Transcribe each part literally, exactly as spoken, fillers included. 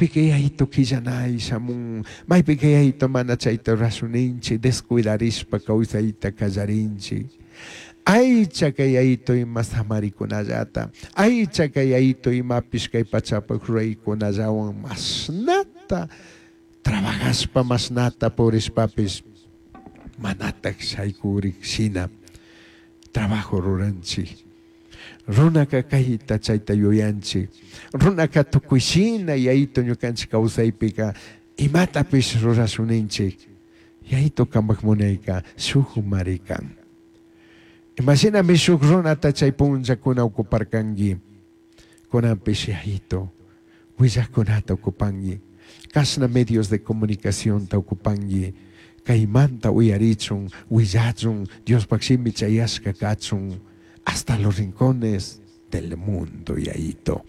Maypika yayito quillanay shamun, maypika yayito mana chayta rurashuninchik, descuidarishpa kawsayta kallarinchik. Aychaka yayito ima samarikunallata, aychaka yayito imapish kay pachapak ruraykunallawan mashnata trabajashpa mashnata purishpapish manatak shaykurik shina trabajo ruranchik. Runaka kayta chayta yuyanchik, runaka tukuy shina yayito ñukanchik kawsaypika imatapish rurashuninchik, yayito kampak munayka shuk marikan. Imashinami shuk runata chay punllakuna ocuparkanki, kunanpish yayito willajkunata ocupanki, kashna medios de comunicacionta ocupanki, kaymanta uyarichun, willachun, Diospaj shimi chayashka kachun, hasta los rincones del mundo, yayito.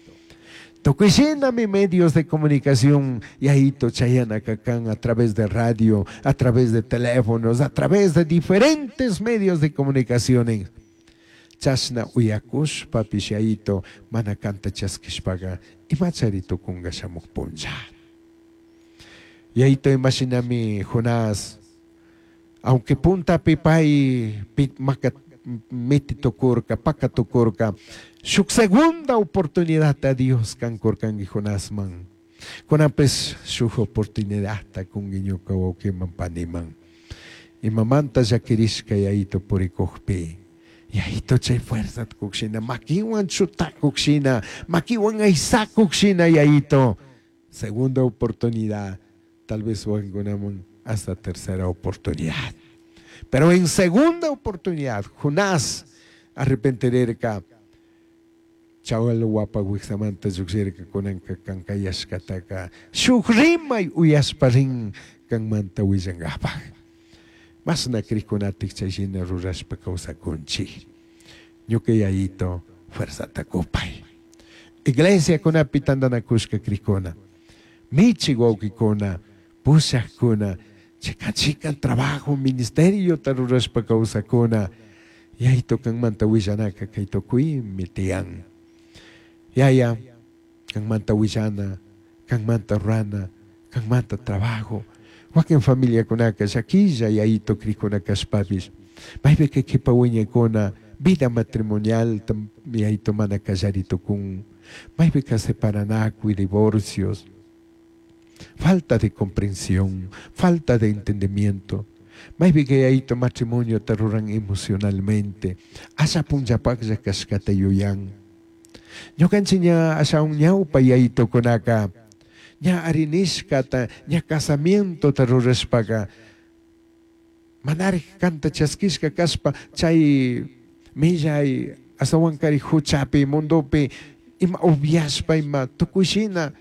Tukuy shinami medios de comunicación, yayito, chayanaka kan a través de radio, a través de teléfonos, a través de diferentes medios de comunicaciones. Chashna uyakushpapish yayito, mana kanta chaskishpaga, imachari tukunga shamuk punlla. Yayito, imashinami Jonás, aunque puntapi pay maka miti tukurka, paka tukurka, shuk segunda oportunidad a Dios kankurkanki Jonásman. Kunanpis shuk oportunidad ta kunki ñuka wawkiman paniman. Imamanta llakirishka yayito purikukpi, yayito chay fuerza kukshina, makiwan chutakukshina, makiwan aysakukshina yayito. Segunda oportunidad, tal vez wakinkunaman hasta tercera oportunidad. Pero en segunda oportunidad, Jonás arrepentirerka, chawal wapa wiksamanta llukshirka kunanka kankayashkataka shuk rimay uyashpa rin kanmanta willankapaj. Masna krikunatik chay shina rurashpa kawsakunchik. Ñuka yayito fuerzata kupay. Iglesia kunapi tantanakushka krikuna, michi wawkikuna, pushakuna, chikan chikan trabajo, ministerio ta rurashpa kawsakuna, yayito kanmanta willanaka kay tukuymi tiyan. Yaya, kanmanta willana, kanmanta rurana, kanmanta trabajo. Wakin familiakunaka llakilla yayito krikuna kashpapish, maypika kipa wiñaykuna vida matrimonial yayito mana kallari tukun, maypika separanakuy, divorcios, falta de comprensión, falta de entendimiento. Maypika yayito matrimonio ta ruran emocionalmente, asha punllapaklla kashkata yuyan. Ñukanchik ña ashawan ñawpa yayitokunaka, ña arinishkata, ña casamientota rurashpaka, manarik kanta chaskishka kashpa, chay millay asawankari huchapi, mundopi, ima upiashpa, ima tukuy shina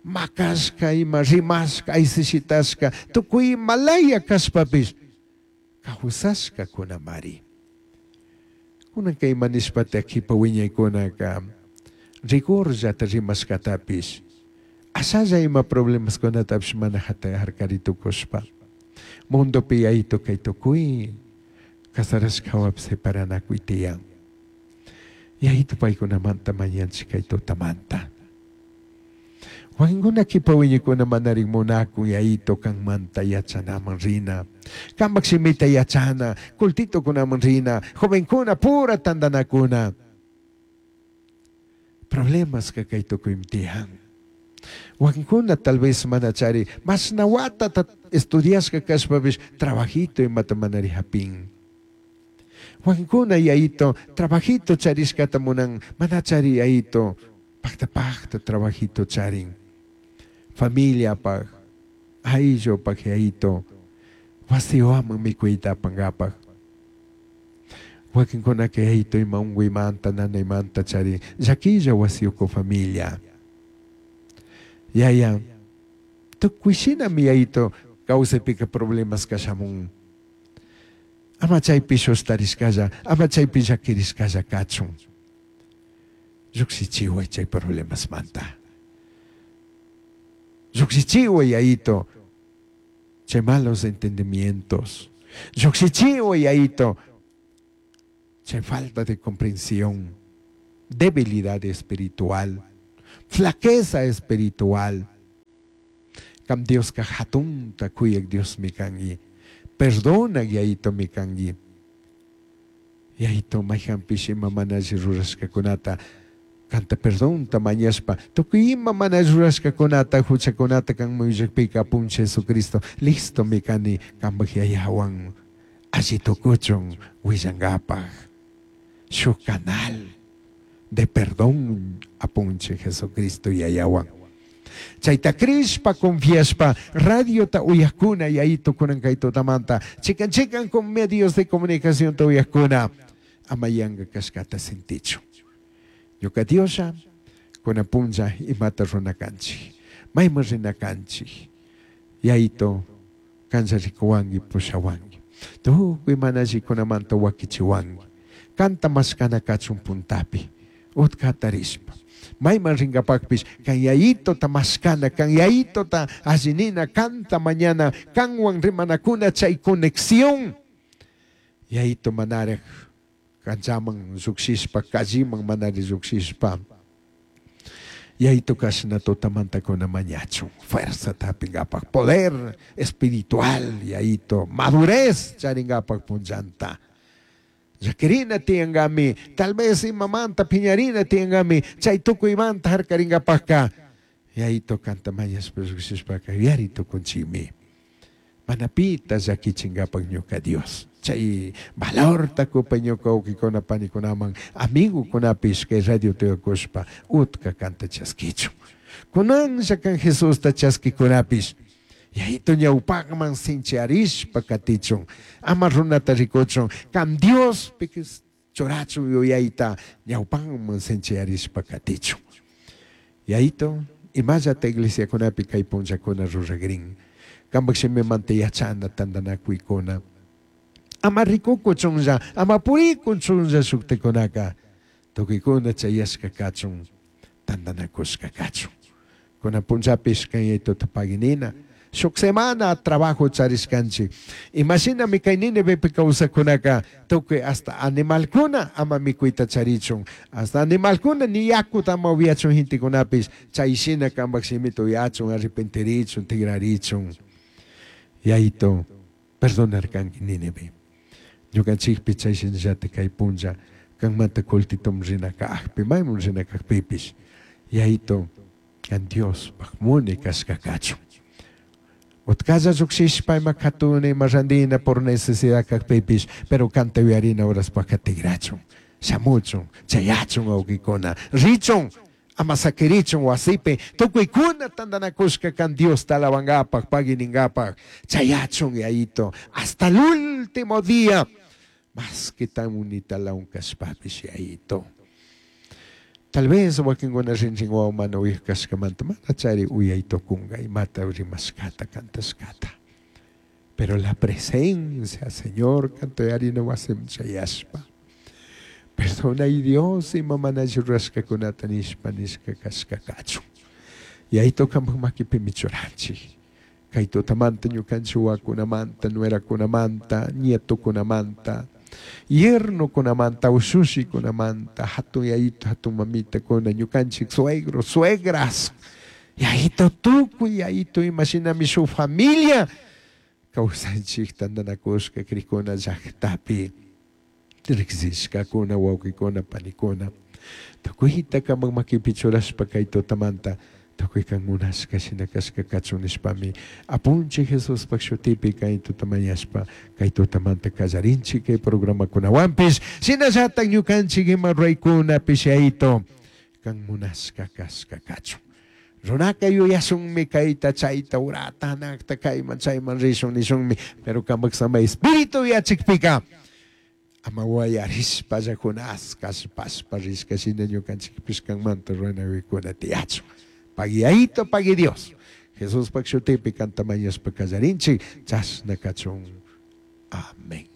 makashka, ima rimashka, aysishitashka, tukuy imalaya kashpapish, kawsashka kunamari. Kunanka ima nishpata kipa wiñaykunaka, rigorllata rimashkatapish, ashalla ima problemaskunatapish mana hata harkari tukushpa. Mundopi yayito kay tukuy kasarashka hawapi separanakuy tiyan. Yayito paykunamanta mañanchik kay tutamanta. Wakinkuna kipa wiñaykuna manarik munakun yayito kanmanta yachanaman rina, kampak shimita yachana, cultitokunaman rina, jovenkuna pura tantanakuna. Problemas ka kay tukuymi tiyan. Wakinkuna tal vez manachari mashna watata estudiashka kashpapish trabajito imata manari hapin. Wakinkuna yayito trabajito charishkata munan, manachari yayito pakta pakta trabajito charin. Familia paj, ayllu paj yayito, wasiwaman mikuyta apankapaj. Wakinkunaka yayito ima unkuymanta, nanaymanta charin, llakilla wasiyuku familia. Yaya, tukuy shinami yayito kawsaypika problemas kashamun. Ama chaypi shustarishkalla, ama chaypi llakirishkalla kachun. Llukshichiway chay problemasmanta. Llukshichiway yayito chay malos entendimientos. Llukshichiway yayito chay falta de comprensión, debilidad espiritual, flaqueza espiritual. Kam Dioska hatunta kuyak Diosmi kanki. Perdonak Yayitomi kanki. Yayito mayhanpish ima mana alli rurashkakunata kanta perdonta mañashpa tukuy ima mana alli rurashkakunata huchakunata kanman willakpika Apunchik Jesucristo listomi kani kanpak yayawan alli tukuchun willankapaj shuk canal de perdón Apunchik Jesucristo yayawan. Chayta crishpa confiashpa radiota uyakuna yayito kunan kay tutamanta chikan chikan con medios de comunicación ta uyakuna ama yanka kashkata sintichu. Ñuka Dioslla kunan punlla imata runa kanchik mayman rina kanchik yayito kanlla rikuwanki pushawanki tukuy mana allikunamanta wakichiwanki kanta mashkana kachun puntapi utkata rishpa mayman rinkapakpish kan yayitota mashkana kan yayitota allinina kanta mañana kanwan rimanakuna chay conexión yayito manaraj kanchaman llukshishpa calliman manari llukshishpa yayito kashna tutamantakuna mañachun fuerzata hapinkapak poder espiritual yayito madurez charinkapak punllanta llakirina tiyankami tal vez imamanta piñarina tiyankami chay tukuymanta harkarinkapakka yayito kanta mañashpa llukshishpaka yuyari tukunchikmi mana pita llakichinkapak ñuka Dios chay valorta kupay ñuka wawkikuna panikunaman amigukunapish kay radio tuyakushpa utka kanta chaskichun kunanlla kan Jesusta chaskikunapish yayito ñawpakman sinchiarishpa katichun ama runata rikuchun kan Dios churachun yuyayta ñawpakman sinchiarishpa katichun yayito imallata iglesiakunapi kay punllakuna ruragrin kanpak shimimanta yachana tantanakuykuna ama rikukuchunlla ama purikuchunlla shuktikunaka tukuykuna chayashka kachun tantanakushka kachun kunan punllapish kan yayituta paginina shuk semana trabajo charishkanchik imashinami kay Nínivepi kawsakunaka tukuy hasta animalkuna ama mikuyta charichun hasta animalkuna ni yakuta ama upyachun gentekunapish chayshina kanpak shimita uyachun arrepentirichun tigrarichun yayito perdonarkanki Nínive ñukanchikpi chayshinallata kay punlla kanmanta kultitum rina kajpi mayman rina kajpipish yayito kan Diospaj muni kashka kachun utkalla llukshishpa ima katuna ima randina por necesidad kajpipish pero kanta uyarina horaspaka tigrachun shamuchun chayachun wawkikuna richun ama sakirichun wasipi tukuykuna tantanakushka kan Diosta alabankapak pagui ninkapak chayachun yayito hasta el último día más que tan unitalaun kashpapish yayito tal vez wakinkuna rinrin wawa mana uyak kashkamanta mana chari uyay tukunka imata rimashkata kantashkata pero la presencia Señor kanta uyarina wasiman chayashpa perdona y Dios ima mana alli rurashkakunata nishpa nishka kashka kachun yayito kanpak makipimi churanchik kay tutamanta ñukanchik wawakunamanta nuerakunamanta nietokunamanta yernokunamanta ushushikunamanta hatun yayito hatun mamitakuna ñukanchik suegros suegras yayito tukuy yayito imashinami shuk familia kawsanchik tantanakushka krikuna llaktapi riksishkakuna wawkikuna panikuna tukuyta kanpak makipi churashpa kay tutamanta tukuy kan munashka shina kashka kachun nishpami Apunchik Jesuspak shutipi kay tutamañashpa kay tutamanta kallarinchik kay programakunawanpish shinallatak ñukanchik ima ruraykunapish yayito kan munashka kashka kachun runaka yuyashunmi kayta chayta urata hanakta kayman chayman rishun nishunmi pero kanpak samay espíritu yachikpika ama wayarishpalla Jonás kallpashpa rishka shina ñukanchikpish kanmanta ruranakuna tiyachun pagui yayito pagui Dios Jesuspak shutipi kanta mañashpa kallarinchik chashna kachun amén.